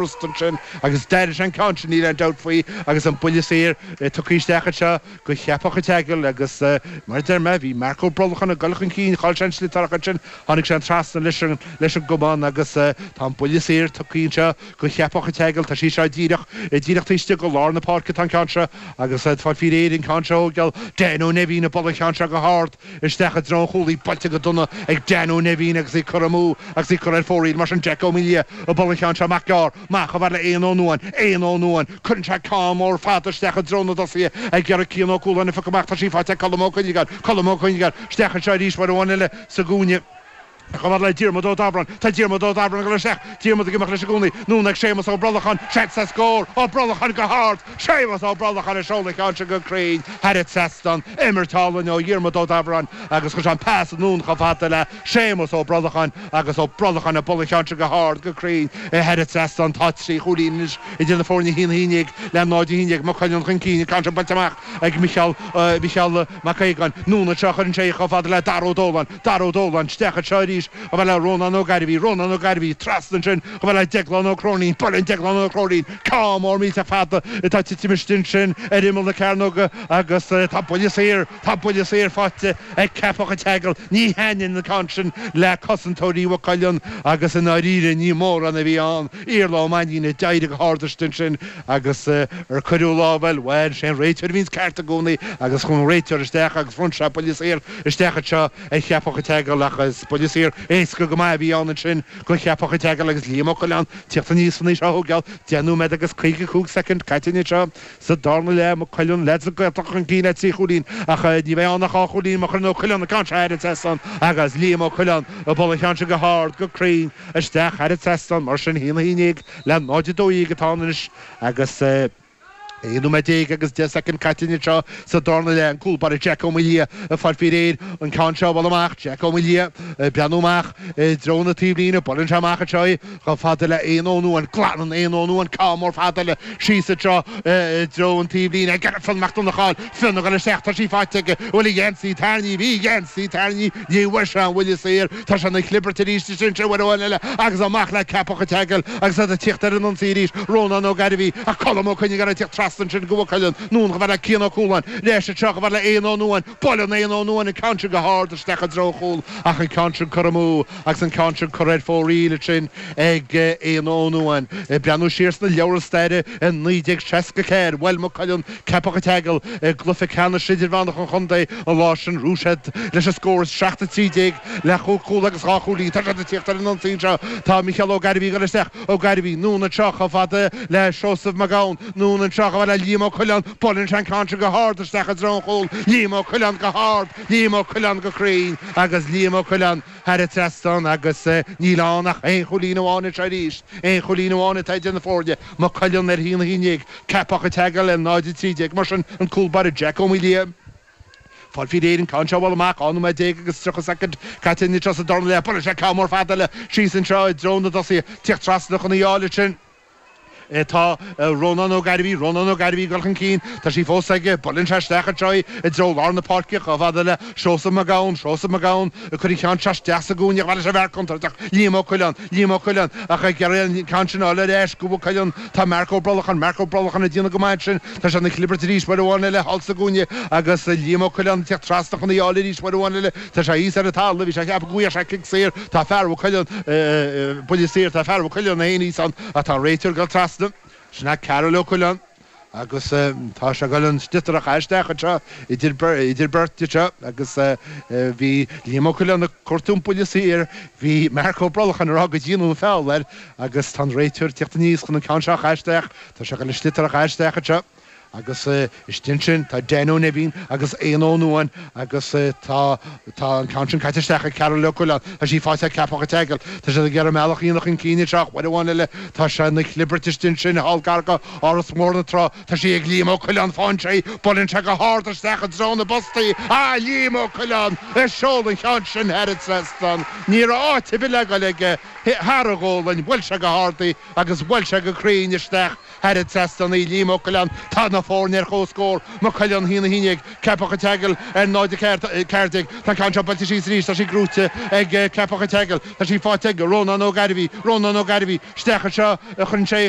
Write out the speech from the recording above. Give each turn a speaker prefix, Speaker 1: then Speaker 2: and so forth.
Speaker 1: Rust ansin agus d'éirigh sé an ceann sin, níl aon dabht faoi, agus an buille saor tugtha isteach anseo go Cheapach an tSeagail agus mar a deir mé, bhí Marc Ó Brolacháin ag dul chun cinn, chaill sé an sliotar ach ansin tháinig sé trasna leis an leis an gcamán agus tá an buille saor tugtha anseo go Cheapach an tSeagail, tá sí seo díreach díreach taobh istigh de lár na páirce atá an ceann seo agus ag fáil faoi réir an ceann seo a thógáil Dan Ó Neimhín ag bualadh an cheann seo go hard. Isteach i dtreo an chúlaí, buailte go dona ag Dan Ó Neimhín agus í curtha amú agus í curtha ar fóraoil. Mar sin Jack Ó Maoildhia ag bualadh an cheann seo amach gearr, amach chomh fada le Éanna Ó Nuáin. Éanna Ó Nuáin. Cuireann sé ceann mór fada isteach i dtreo na dtosaithe ag iarraidh Cian Ó Cualáin a phiocadh amach. Tá sí faighte ag Colm Ó Cuinneagáin. Colm Ó Cuinneagáin. Isteach anseo arís uair amháin eile sa gcúinne. Chomh fada le Diarmuid Ó Dabhráin. Tá Diarmuid Ó Dabhráin ag dul isteach. Diarmuid ag imeacht leis i gcónaí. Anonn ag Séamus Ó Brolacháin. Seans le scór. Ó Brolacháin go hard. Séamus Ó Brolacháin ag seoladh an cheann sin go cruinn thar an trasnán. Imirt álainn ó Dhiarmuid Ó Dabhráin agus chuir sé an pas anonn chomh fada le Séamus Ó Brolacháin agus Ó Brolacháin ag bualadh an cheann sin go hard go cruinn thar an trasnán. Tá 3 chúilín anois idir na foirne 1-11 le 0-11. Maigh Cuilinn chun cinn. An ceann sin buailte amach ag Micheál Micheál Mac Aogáin. Anonn anseo chuireann sé í chomh fada le Dara Ó Dóláin. Dara Ó Dóláin, isteach anseo arís chomh fada le Rónán Ó Gairbhí, Rónán Ó Gairbhí, trasna ansin chomh fada le Deaglán Ó Cróinín, buaileann Deaglán Ó Cróinín, ceann mór millteach fada atá ag titim istigh ansin ar imeall na cearnóga agus tá buille saor, tá buille saor faighte ag Ceapach an tSeagail, ní thaitníonn an ceann sin le cosantóirí Mhaigh Cuilinn agus i ndáiríre ní mórán a bhí ann, Iarla Ó Mainnín a d'éirigh go hard istigh ansin agus ar cuireadh lámh air, bhuel, sé an réiteoir a bhíonns ceart i gcónaí agus chuaigh an réiteoir isteach agus bhronn sé buille saor isteach anseo ar Cheapach an tSeagail ach is buille saor éasca go maith a bhí ann ansin go Cheapach an tSeagail agus Liam Ó Coileáin tíocht aníos chun í seo a thógáil. 10 nóiméad agus 55 soicind caite anseo sa darna leath. Maigh Cuilinn, leaids na Gaeltachta chun cinn le 3 chúilín ach ní bheidh ann ach 2 chúilín má chuireann Ó Coileáin an ceann seo thar an trasnán agus Liam Ó Coileáin ag bualadh an cheann sin go hard go cruinn isteach thar an trasnán. Mar sin 1-11 le 0-12 atá ann anois agus. 11 nóiméad agus 10 soicind caite anseo sa darna leath. An cúl báire Jack Ó Maoildhia ag fáil faoi réir an ceann seo a bhualadh amach. Jack Ó Maoildhia ag breathnú amach i dtreo na taobhlíne. Buaileann sé amach anseo í chomh fada le Éanna Ó Nuáin. Glanann Éanna Ó Nuáin ceann mór fada eile síos anseo i dtreo an taobhlíne. Ag iarraidh Fionn Mac Donnchadha a fháil. Fionn ag dul isteach. Tá sí faighte aige. An bhfuil a gheansaí tarraingthe? Bhí a gheansaí tarraingthe. Ní bhfuair sé an bhuille saor. Tá sé ina chlibirt arís ansin uair amháin eile agus amach le Ceapach an tSeagail agus iad ag tíocht ar an ionsaí arís. Rónán Ó Gairbhí ach Colm Ó Cuinneagáin ag tíocht trasna ansin go Mhaigh Cuilinn. Anonn chomh fada le Cian Ó Cualáin. Ar ais anseo chomh fada le Éanna Ó Nuáin. Buaileann Éanna Ó Nuáin an ceann sin go hard isteach i dtreo an chúil ach an ceann sin curtha amú agus an ceann sin curtha ar fóraoil ansin ag Éanna Ó Nuáin. Ag breathnú siar sna leabhra staire i 1964 bhuail Maigh Cuilinn Ceapach an tSeagail i gcluiche ceannais idirmheánach an chontae an lá sin. Bhuaigh siad leis an scór 7-13 le chúig chúl agus dhá chúilín. Tá siad ag tíocht ar an ionsaí anseo. Tá Micheál Ó Gairbhí ag dul isteach. Ó Gairbhí, anonn anseo chomh fada le Seosamh Mac Gabhann. Anonn anseo chomh fada le Liam Ó Coileáin. Buaileann sé an ceann sin go hard isteach i dtreo an chúil. Liam Ó Coileáin go hard, Liam Ó Coileáin go cruinn agus Liam Ó Coileáin thar an trasnán agus níl ann ach aon chúilín amháin anseo arís. Aon chúilín amháin atá idir na foirne. Maigh Cuilinn ar 1-11, Ceapach an tSeagail ar 0-13. Mar sin, an cúl báire Jack Ó Maoildhia ag fáil faoi réir an ceann seo a bhualadh amach. 12 nóiméad agus 30 soicind caite anseo sa darna leath. Buaileann sé ceann mór fada eile síos anseo i dtreo na dtosaithe. Tíocht trasna chun í a fháil ansin. Tá Rónán Ó Gairbhí, Rónán Ó Gairbhí ag dul chun cinn. Tá sí fós aige. Buaileann sé isteach anseo í i dtreo lár na páirce chomh fada le Seosamh Mac Gabhann, Seosamh Mac Gabhann ag cur an cheann seo isteach sa gcúinne chomh fada leis an bhfear contúirteach, Liam Ó Coileáin, Liam Ó Coileáin ach ag iarraidh an ceann sin a fháil ar ais go Maigh Cuilinn. Tá Marc Ó Brolacháin, Marc Ó Brolacháin ag déanamh go maith ansin. Tá sé ina chlibirt arís uair amháin eile thall sa gcúinne agus Liam Ó Coileáin ag teacht trasna chun í a fháil arís uair amháin eile. Tá sé thíos ar an talamh, bhí sé ag ceapadh go bhfaigheadh sé cic saor. Tá fear Mhaigh Cuilinn, buille saor, tá fear Mhaigh Cuilinn féin thíos ann ach tá an réiteoir ag dul trasna. Sin é Karol Ó Coileáin agus tá sé ag dul an sliotar a chaitheamh isteach anseo idir idir beirt anseo agus bhí Liam Ó Coileáin ag cuartú an buille saor, bhí Marc Ó Brolacháin ag rá go déanadh an feall air agus tá an réiteoir ag tíocht aníos chun an ceann seo a chaitheamh isteach. Tá sé ag dul an sliotar a chaitheamh isteach anseo. Agus istigh ansin tá Dan Ó Neimhín agus Éanna Ó Nuáin agus tá tá an ceann sin caite isteach ag Karol Ó Coileáin. Tá sí faighte ag Ceapach an tSeagail. Tá siad ag iarraidh a mbealach a dhéanamh chun cinn anseo ach uair amháin eile tá sé ina chlibirt istigh ansin thall gar go Áras Mór na Trá. Tá sí ag Liam Ó Coileáin faigheann sé í. Buaileann sé go hard isteach i dtreo na bpostaí. Ah Liam Ó Coileáin ag seoladh an cheann sin thar an trasnán. Ní raibh áit ar bith le dhul aige. thar a ghualainn, bhuail sé go hard í agus bhuail sé go cruinn isteach thar an trasnán í. Liam Ó Coileáin, Tá na foirne ar comhscór, Maigh Cuilinn 1, 11, Ceapach an tSeagail ar 0, 4, 14. Tá an ceann seo buailte síos arís, tá sí gnóite ag Ceapach an tSeagail, tá sí faighte ag Rónán Ó Gairbhí, Rónán Ó Gairbhí, isteach anseo a chuireann sé í.